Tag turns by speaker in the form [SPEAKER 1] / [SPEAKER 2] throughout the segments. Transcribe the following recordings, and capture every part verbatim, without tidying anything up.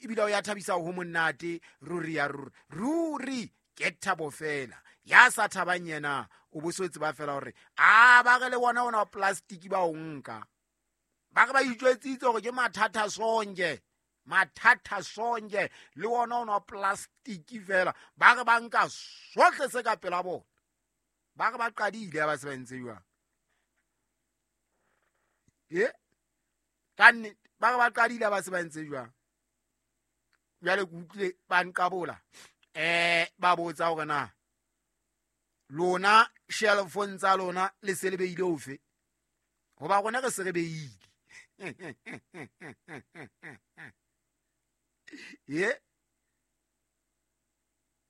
[SPEAKER 1] ebile o ya thabisa ho monate ruri ya ruri ruri ke thabo fela ya sa thabang yena o bo so tseba fela hore a ba re le bona ona plastic ba o nka ba re ba itjwetsitse hore ke mathata sonke mathata sonke le ona ona plastic fela ba re ba nka sohle se ka pela bona ba re ba qadile ba se ba ntse jwang e ka nnete ba re ba qadile ba se ba ntse jwang jwale ke utlwile ba nqabola eh ba botsa hore na lona shelfong tsa lona le se le beile ofe hoba rona re se re beile ye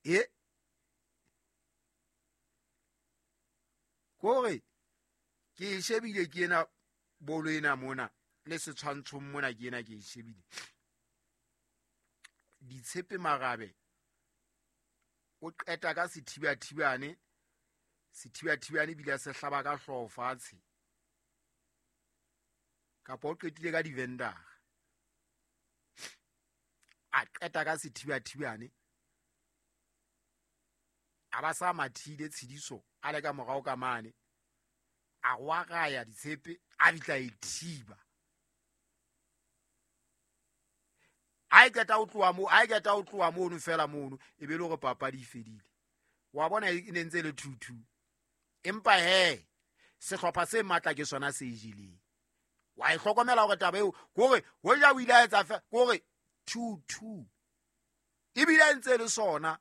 [SPEAKER 1] ye kore ke shebile ke ena bolo ena mona le setshwantshong mona ke ena ke e shebile Ditshepe Marabe o qeta ka sethibathibane sethibathibane bile se hlaba ka hlooho fatshe kapa o qetile ka di-vendor a qeta ka sethibathibane a ba sa mathile Tshidiso a le ka morao ka mane a gwagaya Ditshepe a bitla e thiba a e qeta ho tloha moo a e qeta ho tloha mono fela mono e be le hore papadi e fedile wa bona e ne ntse le two two empa he sehlopha se matla ke sona se jeleng wa e hlokomela hore taba eo kore hoja o ile a etsa fe kore two two ebile ntse le sona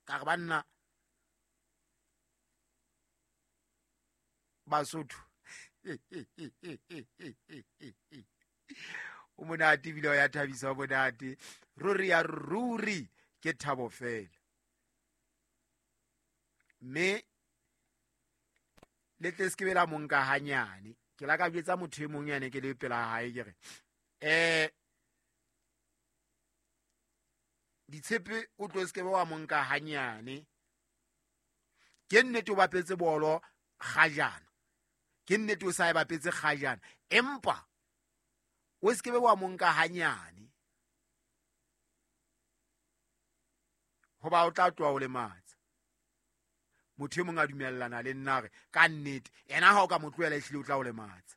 [SPEAKER 1] ka re banna Basotho o monate ebile o ya thabisa o monate ruri ya ruri ke thabo fela mme le tle se ke bela monka hanyane ke la ka jwetsa motho e mong yane ke le pela hae ke re eh Ditshepe o tlo se ke wa monka hanyane ke nnete o bapetse bolo kgajana ke nnete o sa e bapetse kgajana empa o se ke wa monka hanyane hoba o tla tloha o lematsa motho e mong a dumellana le nna re ka nnete ena ha o ka mo tlohela ehlile o tla o lematsa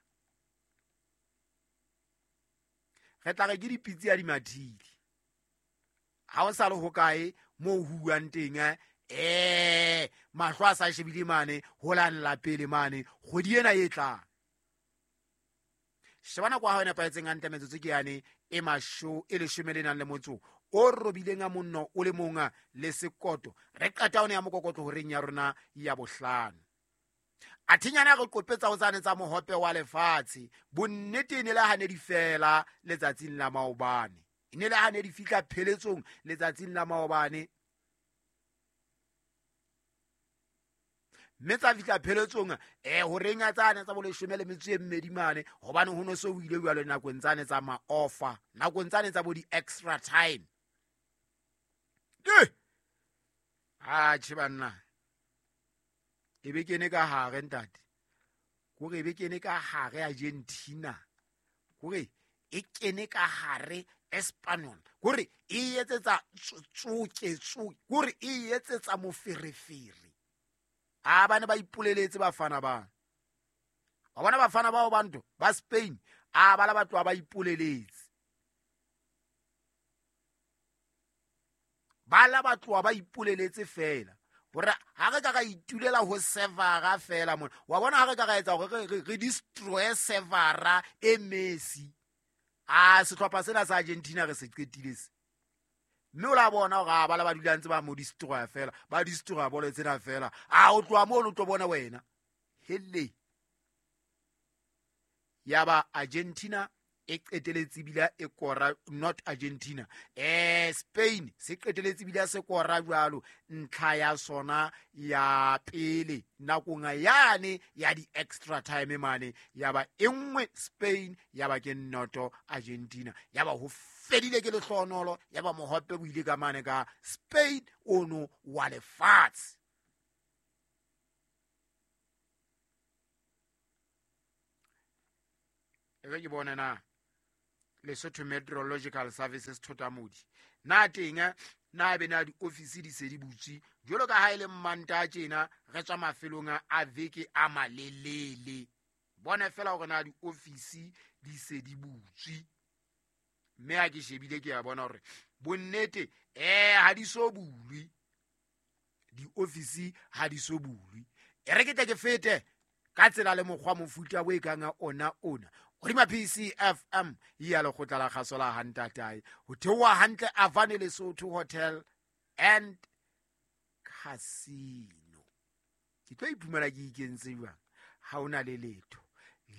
[SPEAKER 1] re tla re ke dipitsi ya dimathile ha o sa le hokae moo ho buang teng eh mahlo a sa shebile mane ho la pele mane kgwedi ena e tlang shebana kwa ha nepahetseng hantle metsotso ke yane e masho e leshome le nang le motso o robileng a monno o le monga le sekoto re qeta one ya mokokotlo horeng ya rona ya bohlano a thinyana re qopetsa ho tsane tsa mohope wa lefatshe bonnete e ne le hane di fela letsatsing la maobane e ne le hane di fihla pheletsong letsatsing la maobane mme tsa fihla pheletsong eh horeng ya tsane tsa boleshome le metso e mmedi mane hobane ho no so o ile jwalo nakong tsane tsa ma-offer nakong tsane tsa bo di-extra time atjhe banna e be kene ka hare ntate kore e be kene ka hare Argentina kore e kene ka hare Espanyol kore e etsetsa tsoke tsoke kore e etsetsa moferefere a bana ba ipoleletse bafana ba wa bona bafana bao bantu ba Spain a bala batho ba ipoleletse bala batho ba ipoleletse fela hore ha re ka ra itulela ho sevara fela mona wa bona ha re ka ra etsa hore re destroy sevara e Messi a sehlopha sena sa Argentina re se qetile se mme o la bona hore a bala ba dula ntse ba mo destroy fela ba destroy bolo tsena fela a o tloha moo o tlo bona wena hele ya ba Argentina e qeteletse bila e kora not Argentina eh Spain se qeteletse bila se kora jwalo ntlha ya sona ya pele nakong yane ya di extra time mane ya ba e nngwe Spain ya ba ke noto Argentina ya ba ho fedile ke lehlonolo ya ba mohope bo ile ka mane ka Spain ono wa lefatshe. E re ke bone na Lesotho Meteorological Services Thotamodi. Na teng na be na diofisi di se di butswe jwalo ka ha e le Mmantaha tjena re tswa mafelong a veke a malelele. Bona fela hore na diofisi di se di butswe. Mme ha ke shebile ke a bona hore bonnete eh ha di so bulwe. Diofisi ha di so bulwe. E re ke tle ke fete ka tsela le mokgwa mofuta bo e kang ona ona. Hodima P C F M ya lekgotla la kgaso la Hantatae. Ho theoha hantle Avane Lesotho Hotel and Casino. Ke tlo iphumana ke ikentse jwang? Ha hona le letho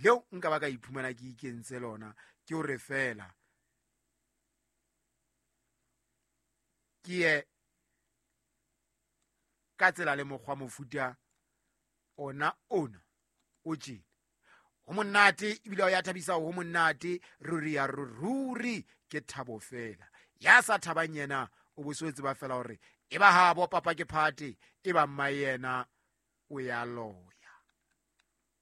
[SPEAKER 1] leo nka ba ka iphumana ke ikentse lona, ke hore fela ke ye ka tsela le mokgwa mofuta ona ona o tjena. Ho monate ebile o ya thabisa, ho monate ruri ya ruri ke thabo fela. Ya sa thabang yena o bo so tseba fela hore e ba habo papa ke phate, e ba mma yena o ya loya.